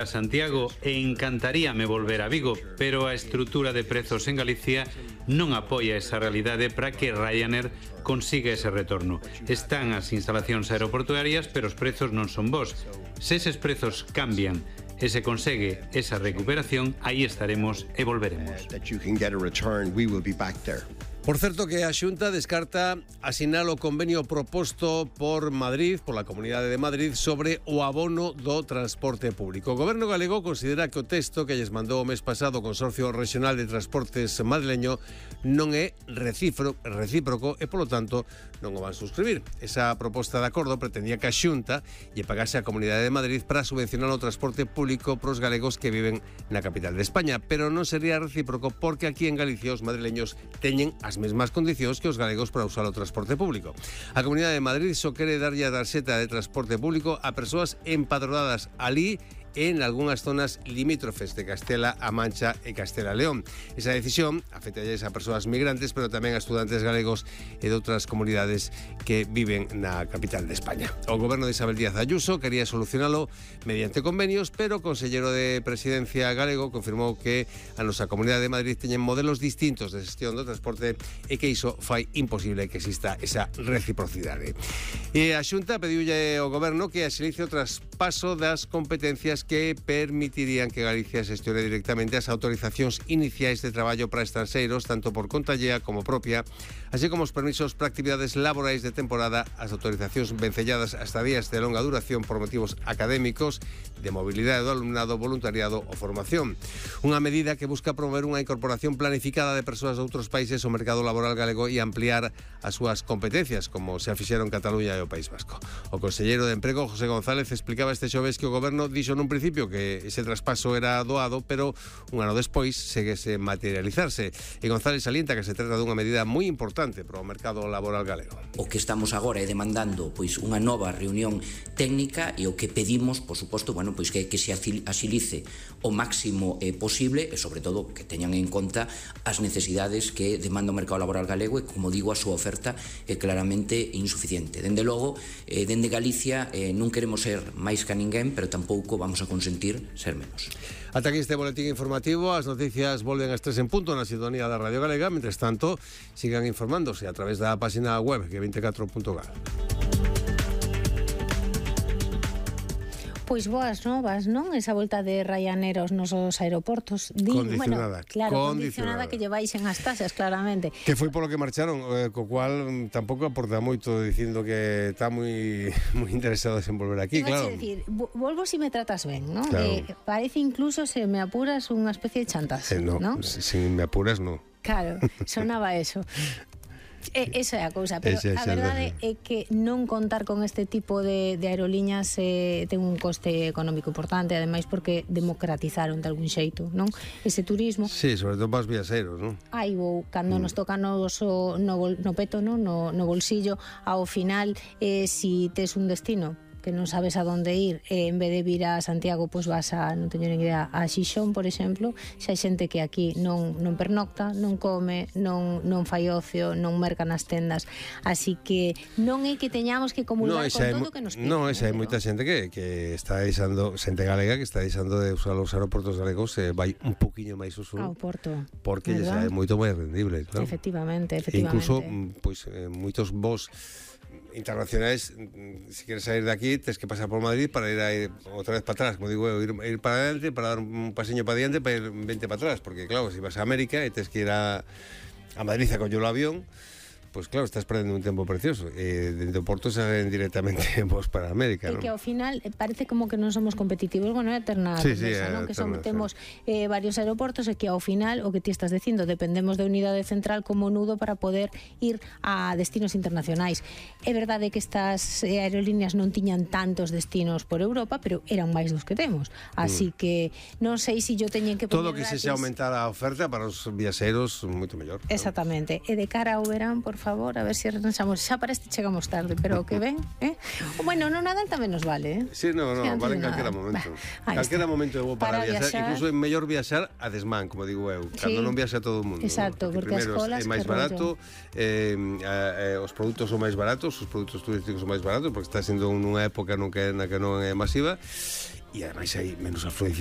a Santiago e encantaríame volver a Vigo, pero a estrutura de prezos en Galicia non apoia esa realidade para que Ryanair consiga ese retorno. Están as instalacións aeroportuarias, pero os prezos non son bons. Se eses prezos cambian e se consegue esa recuperación, aí estaremos e volveremos. Por certo que a Xunta descarta asinar o convenio proposto por Madrid, por la Comunidade de Madrid, sobre o abono do transporte público. O Goberno galego considera que o texto que lles mandou o mes pasado o Consorcio Regional de Transportes madrileño non é recíproco e, polo tanto, non o van suscribir. Esa proposta de acordo pretendía que a Xunta lle pagase a Comunidade de Madrid para subvencionar o transporte público pros galegos que viven na capital de España, pero non sería recíproco porque aquí en Galicia os madrileños teñen as mesmas condicións que os galegos para usar o transporte público. A Comunidade de Madrid só quere darlle a tarxeta de transporte público a persoas empadronadas alí en algunhas zonas limítrofes de Castela-A Mancha e Castela-León. Esa decisión afecta a persoas migrantes, pero tamén a estudantes galegos e de outras comunidades que viven na capital de España. O goberno de Isabel Díaz Ayuso quería solucionalo mediante convenios, pero o conselleiro de Presidencia galego confirmou que a nosa Comunidade de Madrid teñen modelos distintos de xestión do transporte e que iso fai imposible que exista esa reciprocidade. E a Xunta pediulle ao goberno que axilice o traspaso das competencias que permitirían que Galicia xestione directamente as autorizacións iniciais de traballo para estranxeiros, tanto por conta allea como propia, así como os permisos para actividades laborais de temporada, as autorizacións vencelladas a estadías de longa duración por motivos académicos, de mobilidade do alumnado, voluntariado ou formación. Unha medida que busca promover unha incorporación planificada de persoas de outros países ao mercado laboral galego e ampliar as súas competencias, como se fixeron Cataluña e o País Vasco. O conselleiro de Emprego, José González, explicaba este xoves que o goberno dixo nun principio que ese traspaso era doado, pero un ano despois seguese materializarse. E González salienta que se trata dunha medida moi importante para o mercado laboral galego. O que estamos agora é demandando unha nova reunión técnica e o que pedimos, por suposto, que se axilice o máximo posible e, sobre todo, que teñan en conta as necesidades que demanda o mercado laboral galego e, como digo, a súa oferta é claramente insuficiente. Dende logo, dende Galicia non queremos ser máis que ninguén, pero tampouco vamos a consentir ser menos. Ata aquí este boletín informativo. As noticias volven ás 3 en punto na sintonía da Radio Galega. Mentres tanto, sigan informándose a través da página web que24.gal. Pois boas novas, non? Esa volta de Ryanair aos nosos aeroportos. Condicionada. Condicionada que lle baixen as tasas, claramente. Que foi polo que marcharon, co cual tampouco aporta moito dicindo que está moi interesados en volver aquí, claro. Decir, volvo si me tratas ben, non? Claro. Parece incluso, se me apuras, unha especie de chantaje, non? Si me apuras, non. Claro, sonaba eso. Esa é a cousa, pero a verdade é que non contar con este tipo de aerolíneas ten un coste económico importante, ademais porque democratizaron de algún xeito, non? Ese turismo. Sí, sobre todo para os viaxeiros, non? Cando nos toca no peto, non? No bolsillo, ao final, si tes un destino que non sabes a donde ir, en vez de vir a Santiago, pois vas a, non teño nin idea, a Xixón, por exemplo. Xa hai xente que aquí non pernocta, non come, non fai ocio, non merca nas tendas, así que non é que teñamos que acumular con todo o que nos pide. Non, esa hai moita xente que está deixando, xente galega que está deixando de usar os aeroportos galegos, vai un poquinho máis uso ao porto, porque xa é moito máis rendible, claro. Efectivamente. Incluso, pois, moitos voos internacionais, si queres sair de aquí tens que pasar por Madrid para ir outra vez para atrás, como digo eu, ir para adelante, para dar un paseño para diante, para ir 20 para atrás, porque claro, si vas a América e tens que ir a Madrid a coller o avión, pois claro, estás perdendo un tempo precioso. Dentro do Porto salen directamente vos para América, non? E que ao final parece como que non somos competitivos. Bueno, é eterna conversa, non? Que temos varios aeroportos e que ao final, o que ti estás dicindo, dependemos da unidade central como nudo para poder ir a destinos internacionais. É verdade que estas aerolíneas non tiñan tantos destinos por Europa, pero eran máis dos que temos. Así que non sei se yo teñen que todo que se aumentar a oferta para os viaxeiros, moito mellor. Exactamente. E de cara ao verán, por favor, a ver se arranxamos. Xa parece que chegamos tarde, pero que ven, Bueno, no Nadal tamén nos vale, Sí, vale en calquera momento. Calquera momento é bo para viaxar, incluso é mellor viaxar a desmán, como digo eu, cando non viaxa todo o mundo. Exacto, porque as colas é máis barato, os produtos son máis baratos, os produtos turísticos son máis baratos, porque está sendo nunha época na que non é masiva. e ademais hai menos afluencia